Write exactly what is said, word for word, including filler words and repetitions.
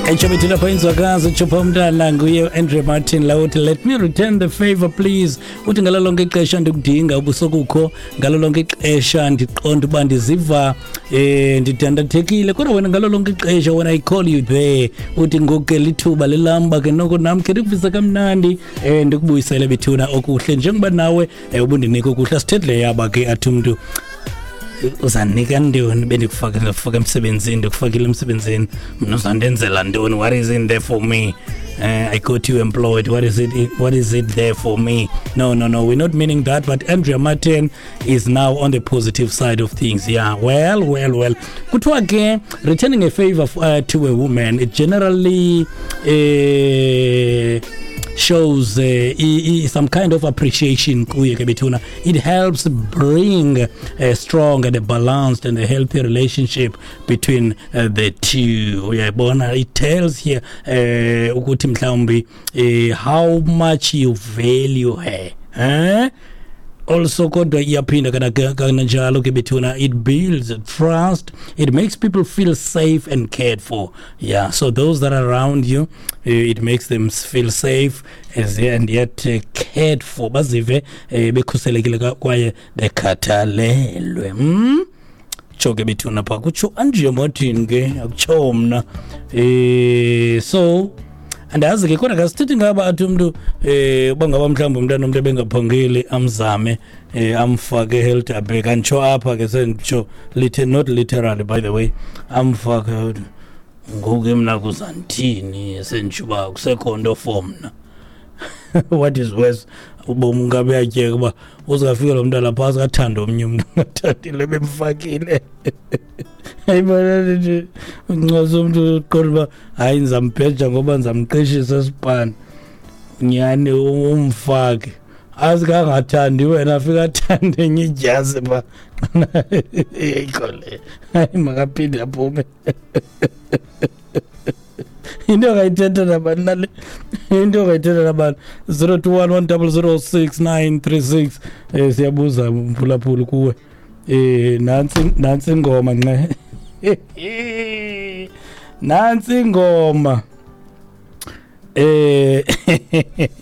Etsho bethu lapha inzwakazi utshopha umntana nguye Andrea Martin la uthi let me return the favor please uthi ngalo lonke ixesha ndikudinga ubusokukho ngalo lonke ixesha ndiqonda uba ndiziva eh ndidandathekile kodwa wena ngalo lonke ixesha when I call you there uthi ngoku ke lithuba lelam uba ke noko nam khe ndikuvise kamnandi eh ndikubuyisele bethuna okuhle njengoba nawe eh, ubundinika okuhle asithethi le yaba ke athi umntu uzandinika ntoni bendikufake ndikufaka emsebenzini ndikufakile emsebenzini mna uzandenzela ntoni what is in there for me uh, I got you employed what is it what is it there for me no no no we're not meaning that but Andrea Martin is now on the positive side of things yeah well well well kuthiwa ke returning a favor uh, to a woman it generally uh, shows uh, i, i, some kind of appreciation kuye ke bethuna it helps bring a strong and a balanced and a healthy relationship between uh, the two uyayibona it tells here uh, ukuthi mhlawumbi uh, how much you value her eh also kodwa iyaphinda kana kananjalo ke bethuna it builds trust it makes people feel safe and cared for yeah so those that are around you uh, it makes them feel safe as and yet uh, cared for bazive uh, bekhuselekile kwaye bekhathalelwe mm? tsho ke bethuna pha kutsho Andrea Martin ke akutsho mna eh so andazi ke kodwa kasithethi ngaba athi umntu eh uba ngaba mhlawumbi umntana umntu ebengaphangeli amzame eh amfake Helderberg anditsho apha ke senditsho lite not literally by the way amfake ngoku ke mna kuzandithini senditsho uba kusekho nto for mna what is worse ubomi ungabe uyatyeka uba uzafika lo mntana phantsi kathanda omnye umntu angathandile bemfakile ayibona nje uncwasa umntu uqonda uba hayi ndizambheja ngoba ndizamqeshisa esipani nyhani umfake azikangathandi wena afika athande enye idyasi pha ayikho le hayi makaphinde aphume into ongayithetha nabani nale into ongayithetha nabani zero two one one double zero six nine three six um siyabuza mphulaphuli kuwe eh nantsi nantsi ingoma nxe nantsi ingoma eh